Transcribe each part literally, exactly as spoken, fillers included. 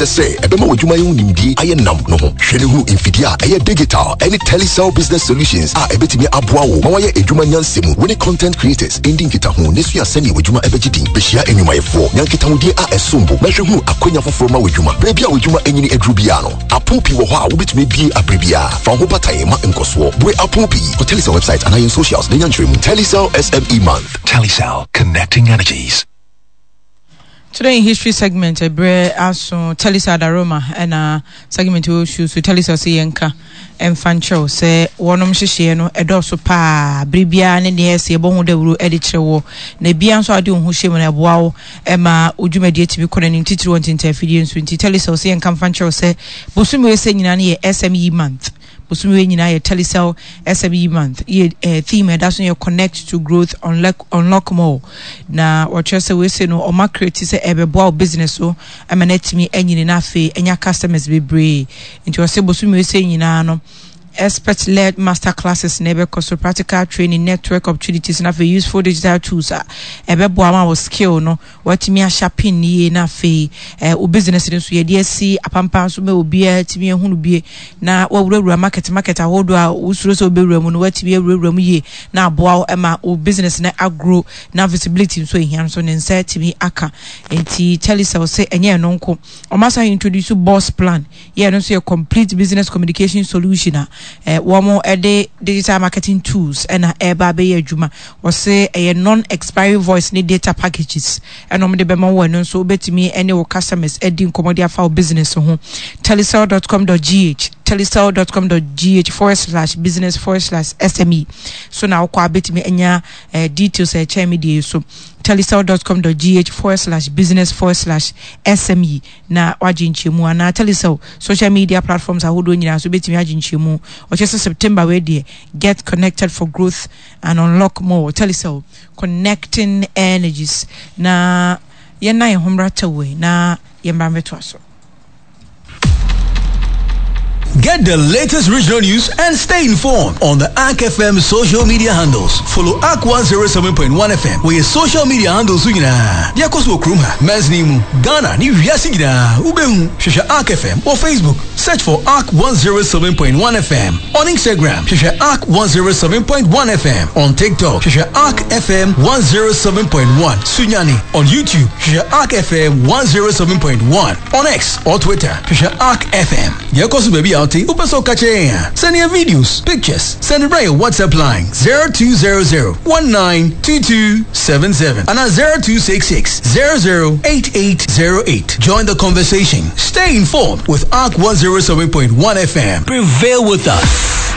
ahyehyɛ sɛ ɛbɛma w'adwuma yɛ ho nimdie ayɛ nam no ho. Hwɛ ne hunu mfidie a ɛyɛ digital ɛne Telecel business solutions a ɛbɛtumi aboa wo ma wayɛ adwuma nyansa mu. Wo ne content creators ndi nkitaho ne sua sɛnea w'adwuma ɛbɛgye din. Bɛhyia nnwumayɛfoɔ nya nkitahodie a ɛsom bo na hwɛ hunu akwanya foforɔ ma w'adwuma. Berɛ bi a w'adwuma anyini aduru biara no, apon pii wɔ hɔ a wobɛtumi abie abere biara. Fa wo ho bata ma nkɔsoɔ. Bue apon pii kɔ Telecel website anaa yɛn socials na nya nkyerɛmu. Telecel S M E Month. Telecel, connecting energies. Today in History segment ɛberɛ aso. Telecel Adaroma ɛna segment wɔ su so. Telecel sɛ yɛnka ɛmfa nkyerɛw sɛ wɔnom nhyehyɛeɛ no ɛdɔɔso paa. Bere biara ne deɛ ɛsɛ yɛbɔ ho dawuro ɛde kyerɛ wɔ na ebia nso a wode wo ho hyɛ mu no, ɛboa wo ɛma wo dwumadie tumi kɔ n'anim, titiri wɔ ntentafidie nso. Nti Telecel sɛ yɛnka mfa nkyerɛw sɛ bosome wei sɛ nyinaa no yɛ S M E Month. Bosome wei nyinaa yɛ Telecel S M E Month. Yɛ eh, theme ɛda so yɛ "Connect to Growth, Unlock, Unlock More". Na wɔkyerɛ sɛ wei no ɔma create sɛ ɛbɛboa wo business so ɛma no atumi anyini na afei ɛnya customers bebree. Nti ɔsɛ bosome wei sɛ nyinaa no, expert led master classes na ɛbɛkɔ so, practical training, network opportunities na afei useful digital tools a ɛbɛboa ma wo skill no watumi ahyɛ ne yie. Na afei eh, wo business no nso yɛde asi apampan so ma obiara tumi ahunu bie na wawurawura market market ahodoɔ a wosuro sɛ wobɛwura mu no, watumi awurawura mu yie na aboa wo ma wo business no agro na visibility nso ehia nso ne nsa atumi aka. Nti Telecel sɛ ɛnyɛ ɛno nko, ɔmo asan introduce Boss Plan. Yɛ no nso yɛ complete business communication solution a eh, wɔn de digital marketing tools ɛna ɛreba abɛyɛ adwuma. Wɔsɛ ɛyɛ non expiry voice ne data packages ɛna wɔn de bɛma wɔn. Ɛno nso wobɛtumi ɛne wo customers ɛdi nkɔmɔ de afa wo business ho. telecel dot com dot G H, telecel dot com dot G H forward slash business forward slash S M E so na wokɔ abɛtumi anya eh, details a ɛkyɛn mi deɛ so. telecel dot com dot G H forward slash business forward slash S M E na wagye nkyɛmu, anaa Telecel social media platforms ahodoɔ nyinaa so wobɛtumi agye nkyɛmu. Ɔkyerɛ sɛ September wei deɛ, get connected for growth and unlock more. Telecel, connecting energies. Na yɛnna yɛn ho mmra tɛwei na yɛmmra mmɛtoa so. Get the latest regional news and stay informed on the A R C F M social media handles. Follow A R C one oh seven point one F M wɔ your social media handles so nyinaa. Deɛ ɛkɔ so wɔ kurom ha, mansini mu, Ghana ne wiase nyinaa, wobɛhu. Hwehwɛ A R C F M wɔ Facebook. Search for A R C one oh seven point one F M. On Instagram, hwehwɛ A R C one oh seven point one F M. On TikTok, hwehwɛ A R C F M one oh seven point one Sunyani. On YouTube, hwehwɛ A R C F M one oh seven point one. On X or Twitter, hwehwɛ A R C F M. Deɛ ɛkɔ so baabi a wote, wopɛ sɛ woka kyerɛ yɛn a, send yɛn videos, pictures, send it right your WhatsApp line zero two zero zero one nine two two seven seven and zero two six six zero zero eight eight zero eight. Join the conversation. Stay informed with A R C one oh seven point one F M. Prevail with us.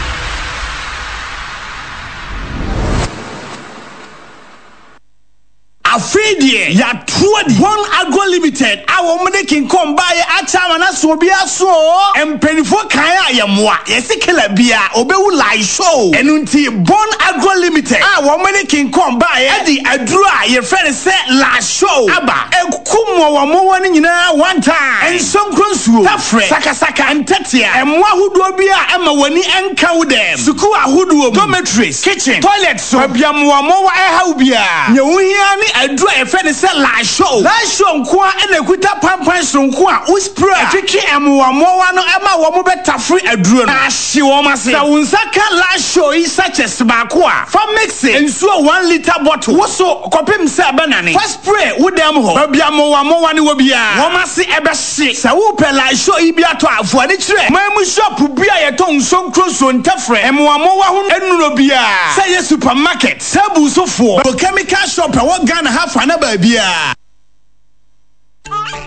Afei deɛ yɛato adi. One Agro Limited a wɔn de kinkɔn baayɛ akyɛ ama na so obi aso o. Mpanimfoɔ kan a yɛmmoa yɛsi kela bia obewu lai show. Ɛno nti Bon Agro Limited a wɔn de kinkɔn baayɛ ɛde aduro a yɛfrɛ no sɛ la show aba. Eku mmoawammoawa no nyinaa one time. Nsonkuro, nsuo tafrɛ, sakasaka, ntɛtea, mmoa ahodoɔ bi a ɛma w'ani nka wo dɛm, sukuu ahodoɔ mu, dormitories, kitchen, toilet so, baabi a mmoawammoawa ɛhaw biara, nea wohia ne aduro a yɛfrɛ no sɛ la show. La show nko a ɛna ekuta pampan soronko a wo spray a ɛtwitwi mmoawammoawa no ɛma wɔn bɛtafere aduro no na ahye wɔn ase. Sɛ wo nsa ka la show yi sachets baako a, fa mix nsuo one litre bottle wo so kɔpem sɛ ɛbɛnane. Fa spray wo dɛm hɔ, baabi a mmoawammoawa no wɔ biara, wɔn ase ɛbɛhye. Sɛ wopɛ la show yi bi atɔ a, fuani kyerɛ man mu shop bi a yɛtɔn nsonkuro nsuo ntɛfrɛ mmoawammoawa ho nnuro biara, sɛ yɛ supermarket, table sofoɔ, chemical shop ɛwɔ Ghana ha fa na baabiara.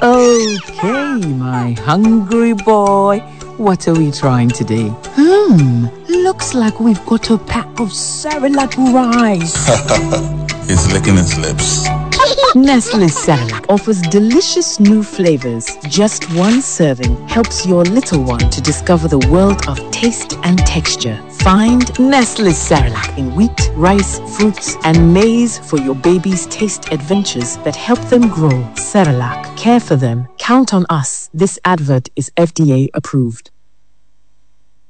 Okay, my hungry boy. What are we trying today? Hmm, looks like we've got a pack of Cerelac rice. He's licking his lips. Nestle Cerelac offers delicious new flavors. Just one serving helps your little one to discover the world of taste and texture. Find Nestle Cerelac in wheat, rice, fruits, and maize for your baby's taste adventures that help them grow. Cerelac, care for them. Count on us. This advert is F D A approved.